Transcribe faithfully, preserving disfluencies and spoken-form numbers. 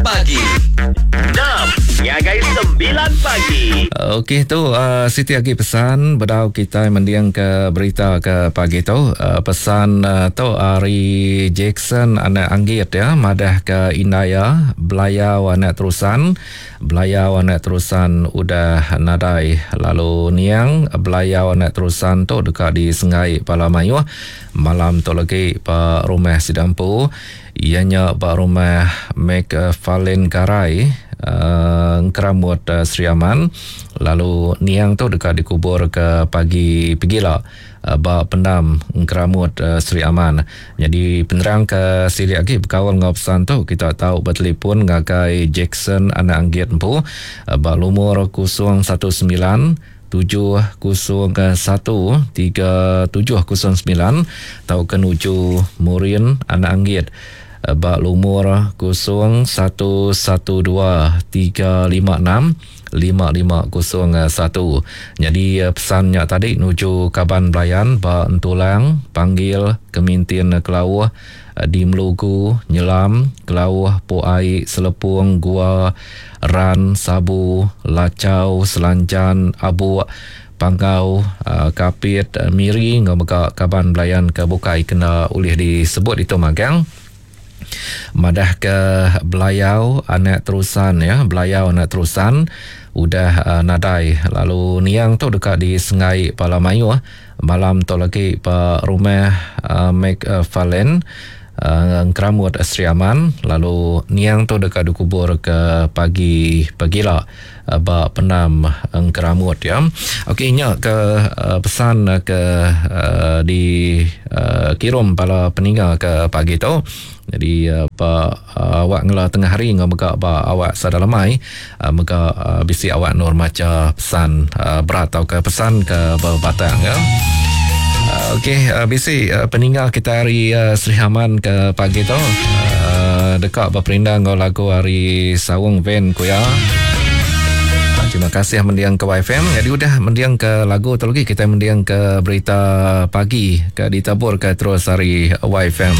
Pagi. Enam ngagai sembilan pagi. Okey tu uh, siti agi pesan bedau kita mendiang ke berita ke pagi tu. Uh, pesan uh, tu ari Jackson anak Anggit ya, madah ke Indaya Belayau anak terusan. Belayau anak terusan udah nadai, lalu niang Belayau anak terusan tu dekat di Sengai Pala Mayuh malam tu lagi pa rumah Sidampu, ianya ba rumah McFarlane Garai uh, Keramut uh, Sri Aman, lalu niang tu dekat dikubur ke pagi pegila uh, ba pendam Keramut uh, Sri Aman. Jadi penerang ke silik lagi berkawan dengan pesan tu kita tahu bertelefon ngagai Jackson anak Anggit empu uh, ba lumur kosong satu sembilan tujuh kosong satu tiga tujuh kosong sembilan atau ke nuju Murin anak Anggit ba lumur kosong satu satu dua tiga lima enam lima lima kosong satu. Jadi pesannya tadi nuju kaban belayan ba Entulang panggil Kemintin Kelauh di Melugu Nyelam Kelauh Puai Selepung Gua Ran Sabu Lacau Selanjan Abuk Panggau Kapit Miri ngau mega kaban belayan ke bukai kena ulih disebut itu magang. Madah ke Belayau anak terusan ya, Belayau anak terusan udah uh, nadai, lalu niang tu dekat di Sengai Pala Mayuh malam tu lagi pa rumah uh, McFarlane uh, Keramut Sri Aman, lalu niang tu dekat dikubur ke pagi pagila uh, ba pendam Keramut ya. Okey nya ke uh, pesan ke uh, di uh, kirum bala peninggal ke pagi tu. Jadi uh, ba uh, awak ngela tengah hari ngau mega ba awak sadalamai uh, mega uh, bisi awak nur maca pesan uh, berat atau ke pesan ke berbatang ya. Uh, Okey uh, bisi uh, peninggal kita hari uh, Sri Aman ke pagi tu uh, dekat berperindang ngau lagu hari Sawung Van kuya. Terima kasih mendiang ke Y F M. Jadi udah mendiang ke lagu tu lagi kita mendiang ke berita pagi ke ditabur ke terus hari Y F M.